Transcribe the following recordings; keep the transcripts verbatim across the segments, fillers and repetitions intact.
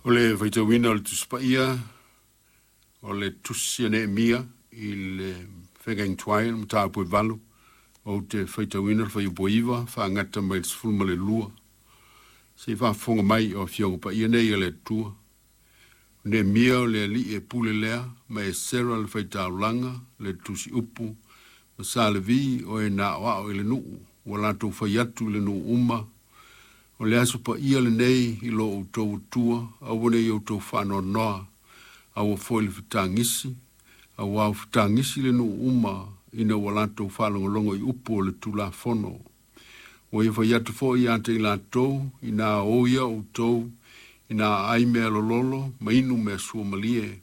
O le faitauina o le Tusi Paia, o le Tusi a Neemia i le feagaiga tuai, le mataupu e valu, ou te faitauina le fuaiupu e iva faagata mai le sefulu ma le lua. Se i faafofoga mai o Afioga Paia nei a le Atua. O Neemia o le alii e pule lea, ma Esera le faitaulaga, le tusi upu, ma Sa Levi o e na aoao i le nuu, ua latou fai atu i le nuu uma, o le aso paia lenei i lo outou Atua, aua ne i outou faanoanoa, aua foi le fetagisi, auā ua fetagisi le nuu uma ina ua latou faalogologo i upu o le Tulafono. Ua ia fai atu foi ia te i latou, ina o ia outou, ina aai mea lololo, ma inu mea suamalie,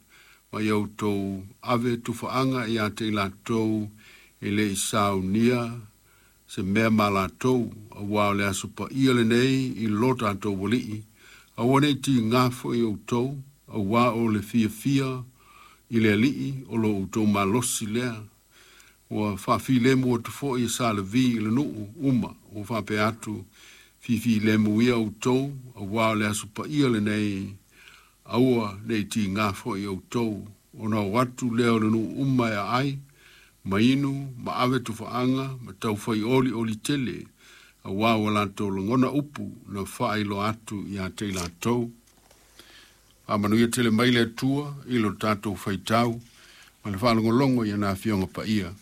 ma ia outou ave tufaaga ia te i latou e le i saunia se mea ma latou, auā o le aso paia lenei i lo tatou Alii, aua ne i tiga foi outou, auā o le fiafia i le Alii o lo outou malosi lea. Ua faafilemu atu foi e Sa Levi i le nuu uma, ua faapea atu, fifilemu ia outou, auā o le aso paia lenei, aua ne i tiga foi outou, ona o atu lea o le nuu uma e aai, ma inu, ma ave tufaaga, ma taufai olioli tele, auā ua latou lagona upu na faailoa atu ia te i latou. Faamanuia tele mai le Atua i lo tatou faitau ma le faalogologo i ana Afioga Paia.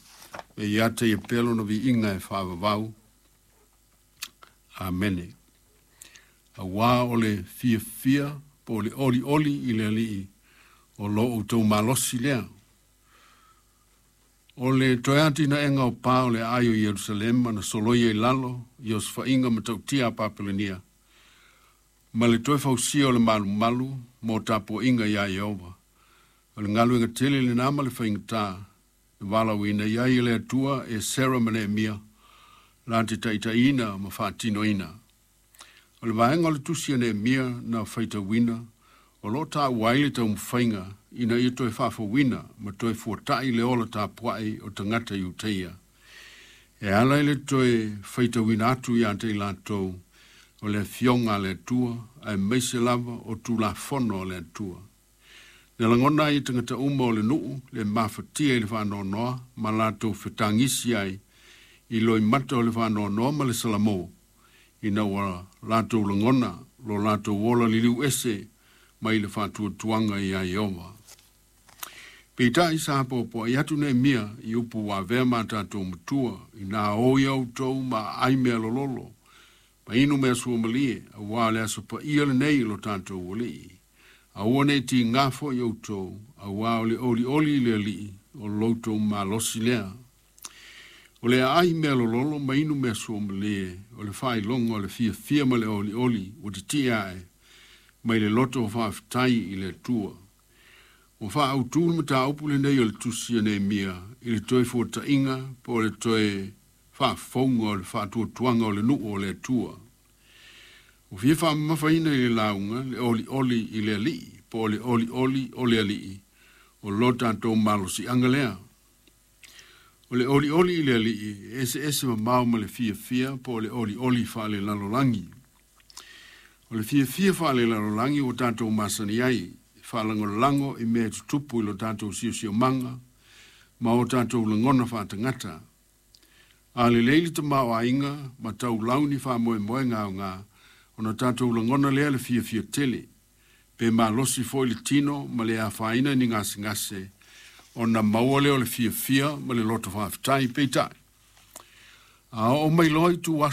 E ia te ia pea lona viiga e faavavau. Amene. Auā o le fiafia po o le olioli i le Alii o lo outou malosi lea. O le toe atinaega o pa o le aai o Ierusalema na soloia i lalo i osofaiga matautia a Papelenia, ma le toe fausia o le malumalu mo tapuaiga iā Ieova. O le galuega tele lenā ma le faigata na valaauina i ai e le Atua Esera ma Neemia la te taitaiina ma faatinoina. O le vaega o le tusi a Neemia na faitauina, o lo o taua ai le taumafaiga ina ia toe faafouina ma toe fuata'i le ola tapua'i o tagata Iutaia. E ala i le toe faitauina atu ia te i latou o le afioga a le Atua, aemaise lava o Tulafono a le Atua. Na lagona ai e tagata uma o le nuu le mafatia i le faanoanoa ma latou fetagisi ai i loimata o le faanoanoa ma le salamo, ina ua latou lagona lo latou ola liliu ese mai le faatuatuaga iā Ieova. Peitai sa poapoa'i atu Neemia i upu ua avea ma tatou matua, ina o ia outou ma aai mea lololo, ma inu mea suamalie, auā o le aso paia lenei i lo tatou Alii. Aua ne i tiga foi outou, auā o le olioli i le Alii o lo outou malosi lea. O le aai mea lololo ma inu mea suamalie, o le faailoga o le fiafia ma le olioli ua titie ae mai le loto o faafetai i le Atua. Ua faaautu le mataupu lenei o le tusi a Neemia i le toe fuata'iga po o le toe faafouga o le faatuatuaga o le nuu o le Atua. Ua fia faamamafaina i le lauga le olioli i le Alii po o le olioli o le Alii o lo tatou malosiaga lea. O le olioli i le Alii e eseese mamao ma le fiafia po o le olioli faalelalolagi. O le fiafia faalelalolagi ua tatou masani ai, e faalagolago i mea e tutupu i lo tatou siosiomaga ma o tatou lagona faatagata. A lelei le tamaoaiga ma taulau ni faamoemoega aoga, ona tatou lagona lea le fiafia tele, pe malosi foi le tino ma le afaina ni gasegase, ona maua lea o le fiafia ma le loto faafetai. Peitai, a oo mai loa ituaso